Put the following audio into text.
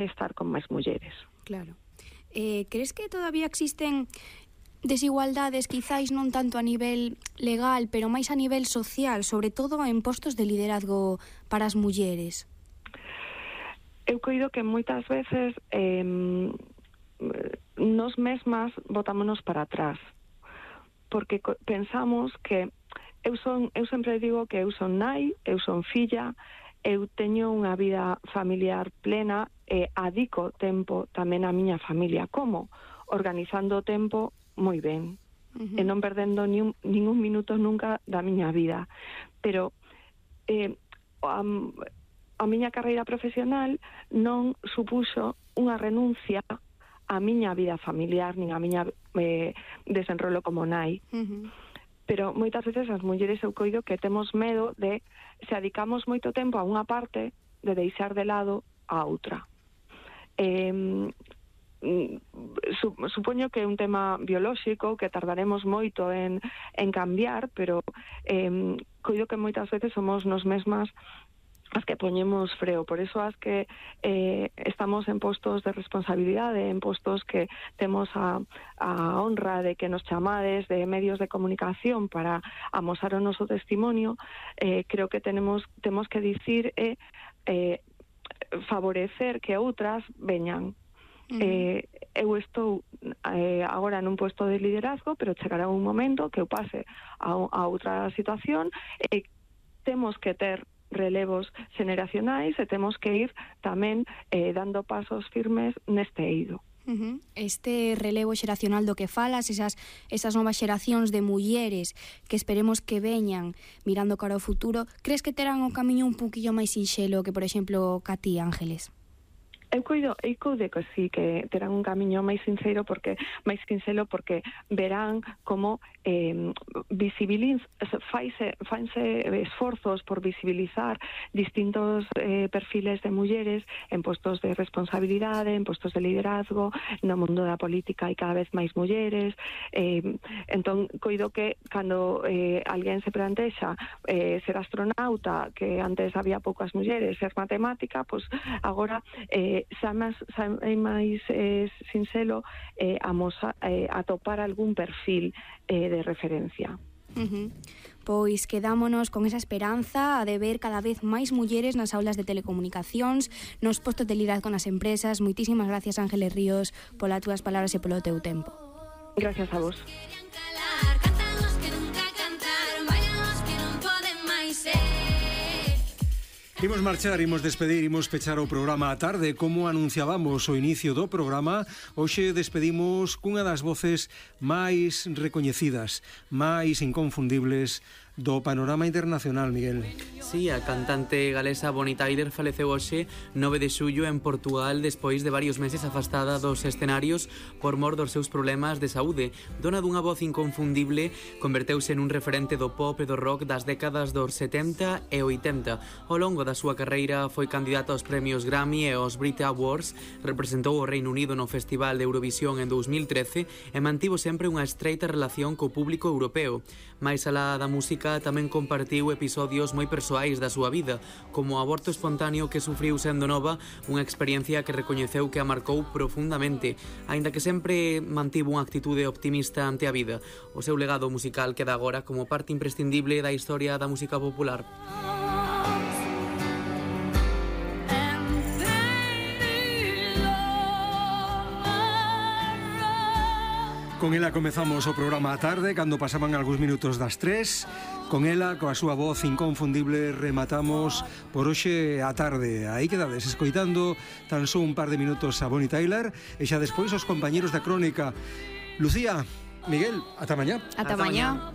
estar con máis mulleres. Claro. Crees que todavía existen desigualdades, quizáis non tanto a nivel legal, pero máis a nivel social, sobre todo en postos de liderazgo para as mulleres? Eu coido que moitas veces nos mesmas botámonos para atrás, porque pensamos que eu sempre digo que eu son nai, eu son filla, eu teño unha vida familiar plena e adico tempo tamén á miña familia. Como? Organizando o tempo moi ben, e non perdendo ningún minuto nunca da miña vida. Pero a miña carreira profesional non supuxo unha renuncia á miña vida familiar, nin a miña desenrolo como nai. Pero moitas veces as mulleres eu coido que temos medo de, se adicamos moito tempo a unha parte, de deixar de lado a outra. Supoño que é un tema biolóxico que tardaremos moito en cambiar, pero coido que moitas veces somos nos mesmas as que poñemos freo. Por eso as que estamos en postos de responsabilidade, en postos que temos a honra de que nos chamades de medios de comunicación para amosar o noso testimonio, creo que temos que dicir favorecer que outras veñan. Eu estou agora nun puesto de liderazgo, pero chegará un momento que eu pase a outra situación e temos que ter relevos xeneracionais e temos que ir tamén dando pasos firmes neste eido. Este relevo xeracional do que falas, esas novas xeracións de mulleres que esperemos que veñan mirando cara ao futuro, crees que terán o camiño un poquillo máis sinxelo que, por exemplo, ca ti, Ángeles? Eu coido que sí, que terán un camiño máis sinxelo porque verán como fanse esforzos por visibilizar distintos perfiles de mulleres en postos de responsabilidade, en postos de liderazgo, no mundo da política hai cada vez máis mulleres. Entón, coido que cando alguén se plantexa ser astronauta, que antes había poucas mulleres, ser matemática, pois agora xa é máis sinxelo atopar algún perfil de referencia. Pois quedámonos con esa esperanza de ver cada vez máis mulleres nas aulas de telecomunicacións, nos postos de liderazgo nas empresas. Moitísimas gracias, Ángeles Ríos, polas túas palabras e polo teu tempo. Gracias a vos. Imos marchar, imos despedir, imos pechar o programa á tarde. Como anunciábamos o inicio do programa, hoxe despedimos cunha das voces máis recoñecidas, máis inconfundibles do panorama internacional, Miguel. Sí, a cantante galesa Bonnie Tyler faleceu hoxe 9 de xullo en Portugal despois de varios meses afastada dos escenarios por mor dos seus problemas de saúde. Dona dunha voz inconfundible, converteuse nun referente do pop e do rock das décadas dos 70 e 80. Ao longo da súa carreira foi candidata aos premios Grammy e aos Brit Awards, representou o Reino Unido no Festival de Eurovisión en 2013 e mantivo sempre unha estreita relación co público europeo. Mais alá da música, tamén compartiu episodios moi persoais da súa vida, como o aborto espontáneo que sufriu sendo nova, unha experiencia que recoñeceu que a marcou profundamente, aínda que sempre mantivo unha actitude optimista ante a vida. O seu legado musical queda agora como parte imprescindible da historia da música popular. Con ela comezamos o programa á tarde, cando pasaban algúns minutos das 3. Con ela, coa súa voz inconfundible, rematamos por hoxe á tarde. Aí quedades escoitando tan só un par de minutos a Bonnie Tyler e xa despois os compañeros da crónica. Lucía, Miguel, ata mañá. Ata mañá.